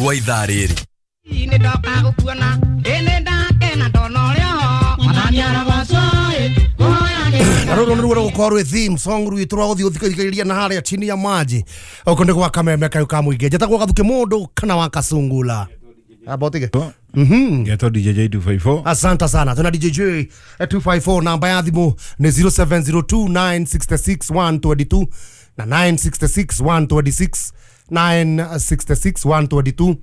Gwa ithaa rĩrĩ. Nĩ ndoka gũkuona ĩnĩ ndakena ndona ũrĩa ho mwathani arogocwo Na rũrũ nĩruo rũgũkorwo rwĩ theme song rwitũ rwa gũthiĩ gũthikĩrĩria na harĩa chini ya maji gũkũ nĩ gwa Kameme kayũ ka mũingĩ. Njĩtagwo Gathuke mũndũ kana wa Kasungula. Abotige. Ngetwo DJ J254. Asante sana. Tuna DJ J 254, namba ya thimũ nĩ 0702966122 na 966126, 966122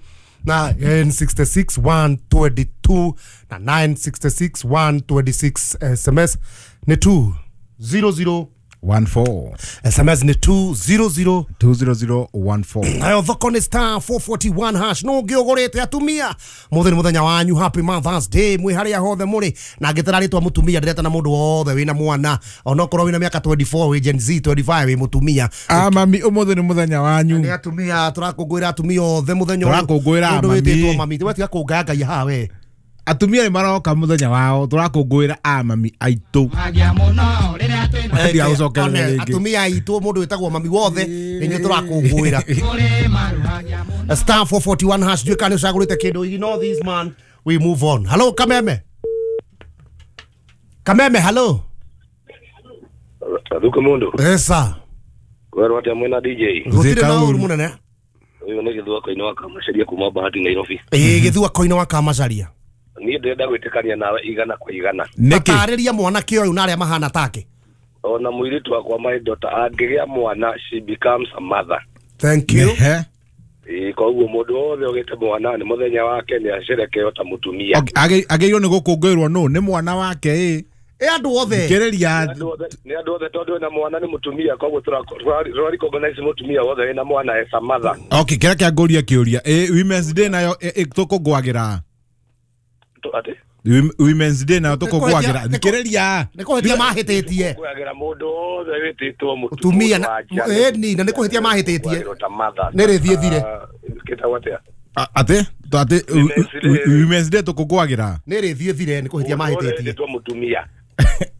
na 966 122 na 966 126. SMS nĩ 200 14. SMS nĩ 200 20014. Nayo thoko nĩ *441#. No ngĩ ũgũrĩte atumia mũthĩ nĩ mũthenya wanyu. Happy Mother's Day mwĩ harĩa hothe mũrĩ. Na ngĩtara rĩtwa mũtumia, ndĩretana mũndũ wothe wĩna mwana, onokorwo wĩna mĩaka 24, wĩ Gen Z, 25, wĩ mũtumia. Ah, mami, ũmũthĩ nĩ mũthenya wanyu. Nĩ atumia tũrakũngũĩra, atumia othe mũthenya ũyũ. Tũrakũngũĩra Mũndũ mami. wĩtĩtwo mami, we tiga kũngaya ngai haha we. Atumia nĩ maroka mũthenya wao, tũrakũngũĩra a mami aitũ. Magia mũno rĩrĩa twĩna Tiga gũcokerera One, rĩngĩ. atumia aitũ, mũndũ wĩtagwo mami wothe, nĩ inyuĩ tũrakũngũĩra. Kũrĩ maruhagia mũno. *441#, ndiũĩ kana nĩ ũcagũrĩte kĩndũ. You know this man, we move on. Hello Kameme. Kameme, hello. Gathuke mundu. Esa. Kwerwo atia mwena DJ? Gũtirĩ na kaũru. ũru mũnene. Ũyũ nĩ Gĩthua Koine wa Kamacaria kuma Bahati, Nairobi. Ĩĩ, Gĩthua Koine wa Kamacaria. Niĩ ndĩrenda gwĩtĩkania nawe 100%. Nĩkĩ? Taarĩria mwanake ũyũ na arĩa mahana take. Ona mũirĩtu wakwa, my daughter, angĩgĩa mwana, she becomes a mother. Thank you. Ehe. Ĩĩ, koguo mũndũ wothe ũgĩte mwana nĩ mũthenya wake, nĩ acerekeo ta mũtumia. Okay, agĩrĩirwo nĩ gũkũngũĩrwo nũ? Nĩ mwana wake ĩ? Ĩ, andũ othe. Kĩrĩria. Nĩ andũ othe tondũ wĩna mwana nĩ mũtumia, koguo tũra recognize mũtumia wothe wĩna mwana as a mother. Okay, kĩrĩa kĩa ngũria kĩũria ĩ, Women's Day nayo tũkũngũagĩra? Atĩ? Women's Day nayo tũkũngũagĩra? Thikĩrĩria. Nĩ kũhĩtia mahĩtĩtie. Kũngũagĩra mũndũ wothe wĩtĩtwo Mũtumia mũndũ wa nja. Ĩni, na nĩ kũhĩtia mahĩtĩtie. Kũngũagĩrwo ta mother. Nĩ rĩthiĩ thire. Ah, kĩtagwo atĩa? Atĩ atĩ Women's Day. Women's Day tũkũngũagĩra? Nĩ rĩthiĩ thire, nĩ kũhĩtia Mũndũ wothe mahĩtĩtie. wĩtĩtwo mũtumia.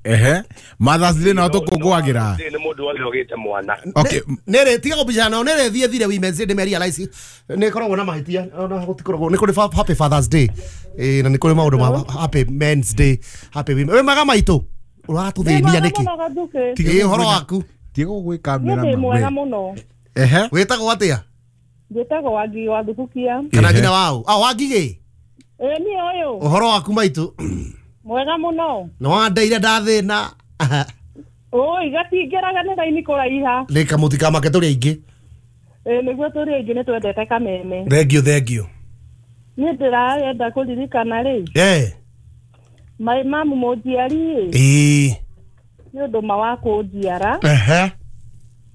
Ehe, Mother's Day nayo tũkũngũagĩra? Nĩ mũndũ wothe ũgĩte mwana. Okay. Nĩ rĩ tiga kũbicana nao, nĩ rĩthiĩ thire. Women's Day nĩ realize nĩ ĩkoragwo na mahĩtia, ona gũtikoragwo nĩ kũrĩ happy Father's Day. Ĩ, na nĩ kũrĩ maũndũ ma happy Men's Day, happy women. Wĩ maga maitũ, ũratũthĩnia nĩkĩ? Ĩ, ũhoro waku? Tiga gwĩka Niĩ ndĩ mwega mĩrama. mũno. Ehe. Wĩtagwo atĩa? Njĩtagwo Wangi wa Thubukia. Kana Ehe. nginya wao ah Wangigĩ? Ĩ, niĩ ũyũ. Ũhoro waku maitũ? Mwega mũno. Nĩ wandeire ndathĩna. Ũi, gatingĩraga nĩ raini kũraiha. Nĩ kamũtikamake, tũrĩ aingĩ. Ĩ, nĩguo, tũrĩ aingĩ, nĩ twendete Kameme. Thengio, thengio. Niĩ ndĩrarenda kũririkana rĩ, my mamu mũnjiari ĩ, nĩ ũndũ ma wa kũnjiara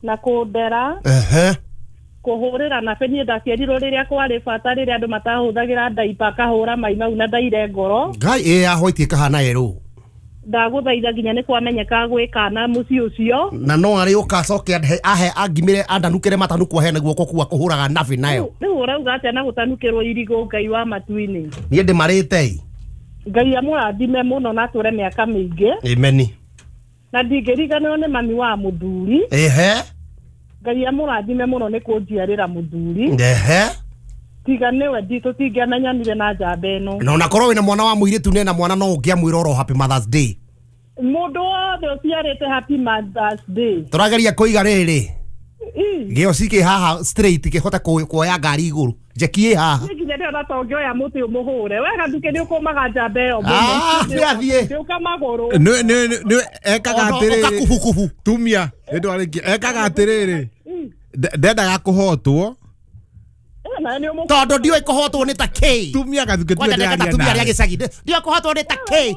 na kũndera, kũhũrĩra na niĩ ndaciarirwo rĩrĩa kwarĩ bata, rĩrĩa andũ matahũthagĩra ndaipa, akahũra mai mau na ndaire ngoro. Ngai, ĩ ya white ĩkahana yerũ. Ndagũthaitha, nginya nĩ kwamenyeka gwĩ kana mũciĩ ũcio. Na no arĩ ũka acoke ahe angimĩre andanukĩre matanukwo hena guoko kua kũhũraga nabi nayo. Rĩu ũrauga atĩa na gũtanukĩrwo irigũ, Ngai wa matu-inĩ? Niĩ ndĩmarĩte ĩ. Ngai amũrathime mũno na atũre mĩaka mĩingĩ. Ameni. Na ndingĩriganĩrwo nĩ mami wa mũthuri. Ngai amũrathime mũno nĩ kũnjiarĩra mũthuri. Tiga nĩwe tũtingĩamenyanire na njamba ĩno. Na onakorwo wĩna mwana wa mũirĩtu nena mwana, no ũngĩamwĩra oro happy Mother's Day. Mũndũ wothe ũciarĩte, happy Mother's Day. Tũrageria kũiga rĩrĩ gĩoci kĩ haha straight kĩhote kuoya ngari igũrũ, njeki ĩ haha. Niĩ nginya ndĩrona ta ũngĩoya mũtĩ ũmũhũre wega nduke, nĩ ũkũmaga njamba ĩyo. Ah, nĩ athiĩ. Ndĩũka magũrũ. Nĩ ekaga atĩrĩrĩ. Ũka kubukubu. Tumia nĩ ndwarĩkia, ekaga atĩrĩrĩ, ndendaga kũhotwo. Eh, nawe nĩ ũmũ- Tondũ ndiũĩ kũhotwo nĩ ta k. Tumia, Gathuke. Kwanja ndeka atumia arĩa gĩcagi, ndiũĩ kũhotwo nĩ ta k.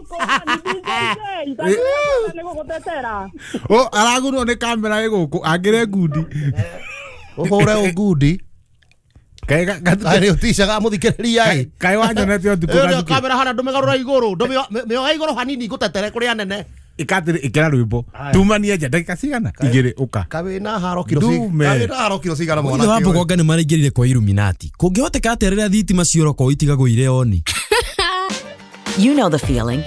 Nĩ gũgũtetera. O aragunwo nĩ kamera ĩ gũkũ angĩre ngundi. Ũhũre ũngundi. Kaĩ Gathuke- Nĩ ũticaga mũthikĩrĩria ĩ. Kaĩ wanyonete ũtukũ? Ĩyo nĩyo Gathuke. kamera hana, ndũmĩgarũra igũrũ, mĩoe igũrũ hanini ngũtetere kũrĩ anene. Ĩkatĩrĩ, ĩkĩra rwĩmbo tumanie nja ndagĩka cigana 2 ũka. Kawĩna haro kiro Ndume. kawĩna haro kiro cigana Ithe mwanake wa ũyũ? Mbogonga nĩ maraingĩrire kwa Illuminati. Kũngĩhoteka atĩa rĩrĩa thitima cioroko itigagwo irĩ oni? You know the feeling.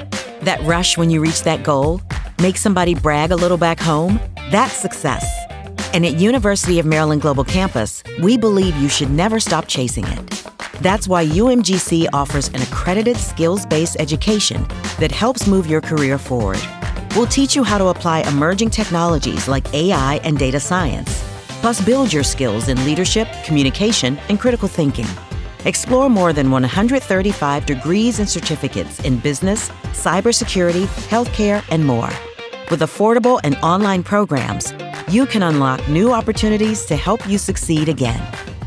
That rush when you reach that goal, make somebody brag a little back home. That's success. And at University of Maryland Global Campus, we believe you should never stop chasing it. That's why UMGC offers an accredited skills-based education that helps move your career forward. We'll teach you how to apply emerging technologies like AI and data science, plus build your skills in leadership, communication, and critical thinking. Explore more than 135 degrees and certificates in business, cybersecurity, healthcare, and more. With affordable and online programs, you can unlock new opportunities to help you succeed again.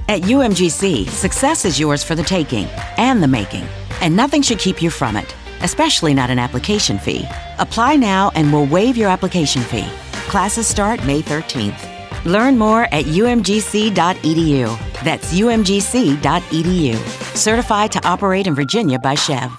At UMGC, success is yours for the taking and the making, and nothing should keep you from it, especially not an application fee. Apply now and we'll waive your application fee. Classes start May 13th. Learn more at umgc.edu. That's umgc.edu. Certified to operate in Virginia by SHEV.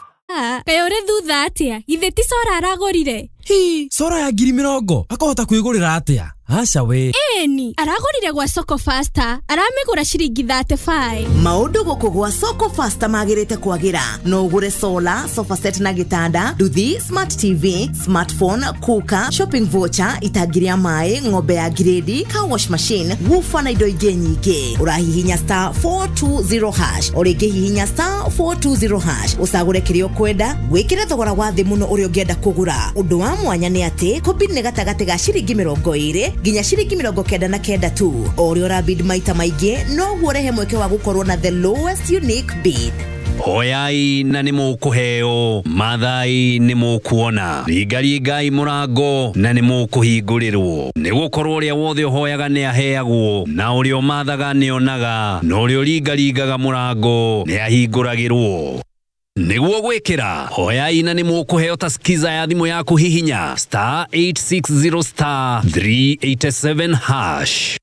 Kaĩ ũrĩ thutha atĩa? Githĩ ti cora aragũrire? Hi, cora ya 20,000 akahota kwĩgũrĩra atĩa? Aca we. Ĩni, aragũrire gwa Soko Faster, aramĩgũra ciringi 35. Maũndũ gũkũ gwa Soko Faster magĩrĩte kwagĩra. No ũgũre solar, sofa set na gĩtanda, nduthi, smart TV, smartphone, cooker, shopping voucher, itangi rĩa maĩ, ng'ombe ya grade, car wash machine, woofer na indo ingĩ nyingĩ. Ũrahihinya star 420 hash, o rĩngĩ hihinya star 420 hash, ũcagũre kĩrĩa ũkwenda, wĩkĩre thogora wa thĩ mũno ũrĩa ũngĩenda kũgũra. Ũndũ wa mwanya nĩ atĩ kũbid nĩ gatagatĩ ga ciringi 20 nginya ciringi 99 tu. O ũrĩa ũrabid maita maingĩ noguo ũrehe mweke wa gũkorwo na the lowest unique bid. Hoyai na nĩ mũkũheo, mathai nĩ mũkuona, ringaringai mũrango na nĩ mũkũhingũrĩrwo. Nĩ gũkorwo ũrĩa wothe ũhoyaga nĩ aheagwo, na ũrĩa ũmathaga nĩ onaga, na ũrĩa ũringaringaga mũrango nĩ ahingũragĩrwo. Nĩguo gwĩkĩra hoyai na nĩ mũkũheo ta skiza ya thimũ yaku hihinya star 860 star 387 hash.